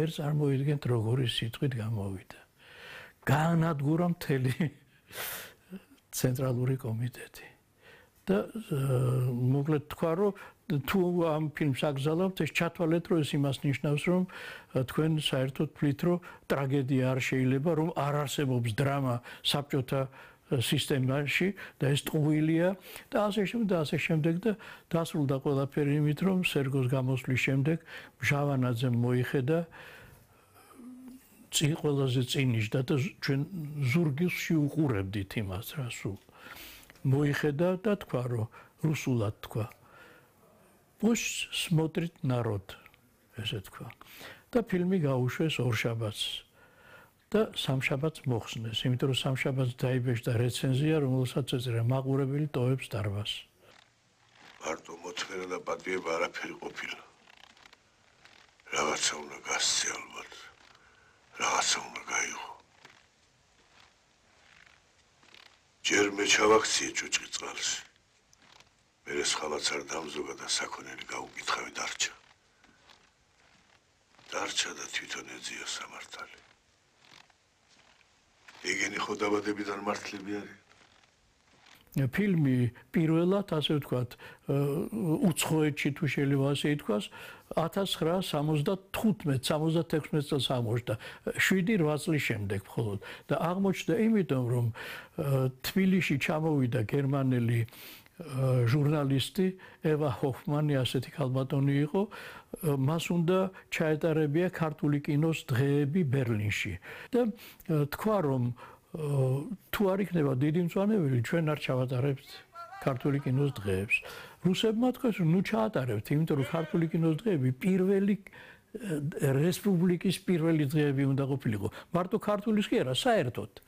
ერთ წარმოიდგენთ როგორი სიტყვით გამოვიდა. გაანადგურა მთელი ცენტრალური კომიტეტი. და მოკლედ თქვა რომ თუ ამ ფილმს აგზავნებთ ეს ჩათვალეთ რომ ეს იმას ნიშნავს რომ თქვენ საერთოდ თვლით რომ ტრაგედია არ შეიძლება რომ არ არსებობს დრამა საბჭოთა სისტემაში და ეს ტყუილია და ასე შემდეგ და დასრულდა ყველაფერი იმით რომ სერგოს გამოსვლის შემდეგ მჟავანაძემ მოიხედა ყველაზე წინიშდა და ჩვენ ზურგისში უყურებდით იმას რა სულ მოიხედა და თქვა რომ რუსულად თქვა Пусть смотрит народ, ესე თქვა. და ფილმი გაუშვეს ორშაბათს და სამშაბათს მოხსნეს, იმიტომ რომ სამშაბათს დაიბეჭდა რეცენზია, რომელსაც ეწერა მაყურებელი ტოვებს დარბაზს. მარტო მოთმენა და პატიება არაფერი ყოფილა. რაღაცა უნდა გასცე ალბათ. რაღაცა უნდა გაიღო. ჯერ მე ჩავაქციე ჭუჭყი წყალში. მერე სხვამაც არ დამზოგა და საქონელი გაუკითხავი დარჩა. დარჩა და თვითონ ეძია სამართალი. ეგენი ხო დაბადებიდან მართლები არის? ფილმი პირველად, ასე ვთქვათ, უცხოეთში თუ შეიძლება ასე ითქვას, 1975-76 წელს აღმოჩნდა, 7-8 წლის შემდეგ მხოლოდ და აღმოჩნდა იმიტომ, რომ თბილისში ჩამოვიდა გერმანელი ჟურნალისტი ევა ჰოფმანი ასეთი ქალბატონი იყო მას უნდა ჩაეტარებია ქართული კინოს დღეები ბერლინში და თქვა რომ თუ არ იქნება დიდი მწვანებელი ჩვენ არ ჩავატარებთ ქართული კინოს დღეებს რუსებმა თქვეს რომ ნუ ჩაატარებთ იმიტომ რომ ქართული კინოს დღეები პირველი რესპუბლიკის პირველი დღეები უნდა ყოფილიყო მარტო ქართულის კი არა საერთოდ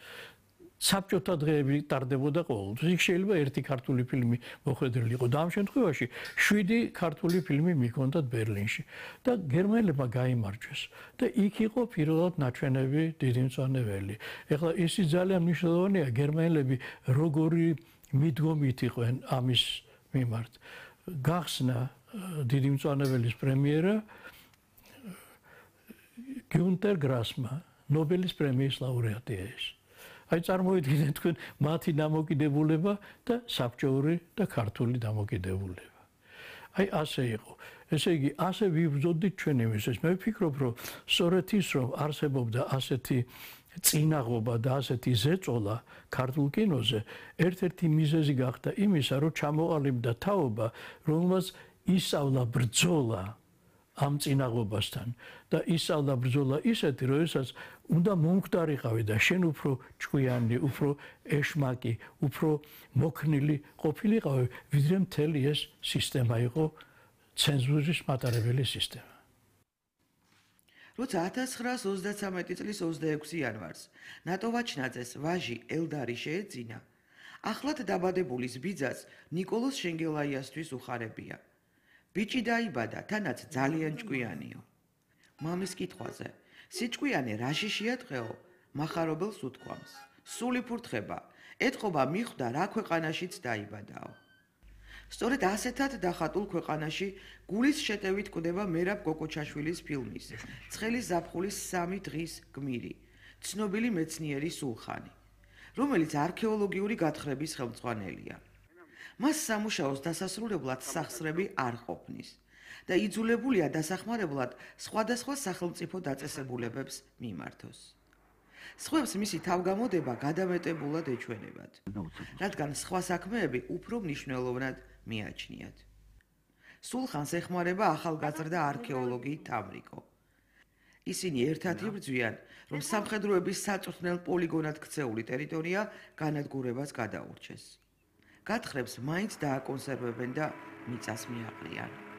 საბჭოთა დღეები ტარდებოდა ყოველთვის. იქ შეიძლება ერთი ქართული ფილმი მოხვედრილი იყო და ამ შემთხვევაში 7 ქართული ფილმი მიქონდათ ბერლინში და გერმანელებმა გაიმარჯვეს და იქ იყო პირველად ნაჩვენები დიდი მწვანებელი. ეხლა ისი ძალიან მნიშვნელოვანია გერმანელები როგორი მიდგომით იყვნენ ამის მიმართ. გახსნა დიდი მწვანებელის პრემიერა გიუნტერ გრასმა ნობელის პრემიის ლაურეატია ეს. აი წარმოიდგინეთ თქვენ მათი დამოკიდებულება და საბჭოური და ქართული დამოკიდებულება. აი ასე იყო. ესე იგი, ასე ვიბრძოდით ჩვენ იმისთვის. მე ვფიქრობ, რომ სწორედ ის, რომ არსებობდა ასეთი წინაღობა და ასეთი ზეწოლა ქართულ კინოზე, ერთ-ერთი მიზეზი გახდა იმისა, რომ ჩამოყალიბდა თაობა, რომელმაც ისწავლა ბრძოლა ამ წინაღობასთან და ისწავლა ბრძოლა ისეთი, როდესაც უნდა მომკვდარიყავი და შენ უფრო ჭკვიანი, უფრო ეშმაკი, უფრო მოქნილი ყოფილიყავი, ვიდრე მთელი ეს სისტემა იყო ცენზურის მატარებელი სისტემა. როცა 1933 წლის 26 იანვარს ნატო ვაჩნაძეს ვაჟი ელდარი შეეძინა, ახლად დაბადებულის ბიძას ნიკოლოზ შენგელაიასთვის უხარებია. ბიჭი დაიბადა, თანაც ძალიან ჭკვიანიო. მამის კითხვაზე, სიჭკვიანი რაში შეატყეო, მახარობელს უთქვამს. სული ფურთხება, ეთყობა მიხვდა რა ქვეყანაშიც დაიბადაო. სწორედ ასეთად დახატულ ქვეყანაში გულის შეტევით კვდება მერაბ გოგოჩაშვილის ფილმის ცხელი ზაფხულის 3 დღის გმირი, ცნობილი მეცნიერი სულხანი, რომელიც არქეოლოგიური გათხრების ხელმძღვანელია. მას სამუშაოს დასასრულებლად სახსრები არ ყოფნის და იძულებულია დასახმარებლად სხვადასხვა სახელმწიფო დაწესებულებებს მიმართოს. სხვებს მისი თავგამოდება გადამეტებულად ეჩვენებათ, რადგან სხვა საქმეები უფრო მნიშვნელოვნად მიაჩნიათ. სულხანს ეხმარება ახალგაზრდა არქეოლოგი თამრიკო. ისინი ერთად იბრძვიან, რომ სამხედროების საწვრთნელ პოლიგონად ქცეული ტერიტორია განადგურებას გადაურჩეს. გათხრებს მაინც დააკონსერვებენ და მიწას მიაყრიან.